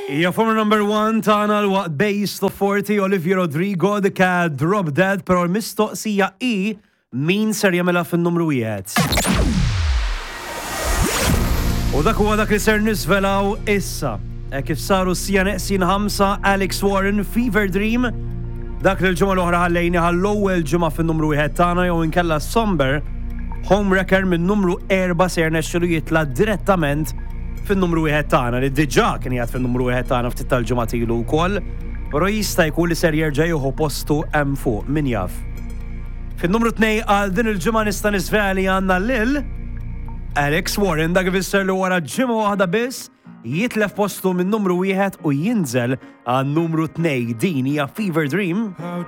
Hija former number one tagħna l-waqt Base of 40 Olivia Rodrigo The Cat Drop Dead, però l-mistoqsija hi min ser jagħmilha fin-numru wieħed. U dak huwa dak li ser niżvelaw issa. E kif saru sija neqsin 5 Alex Warren Fever Dream dak li l-ġimgħa l-oħra ħallejni għall-ewwel ġimgħa fin-numru wieħed tagħna jew inkella Somber Homewrecker minn numru 4 ser nexxilu jitla' direttament fin-numru wieħed tagħna li diġà kien qiegħed fin-numru wieħed tagħna ftit tal-ġimgħat ilu wkoll, però jista' jkun li ser jerġa' jieħu postu hemm fuq, min jaf. Fin-numru 2 għal din il-ġimgħa nista' niżvela li għandna lil Alex Warren, dak ifisser li wara ġimgħa waħda biss jitlef postu minn numru wieħed u jinżel għan numru 2. Din hija Fever Dream.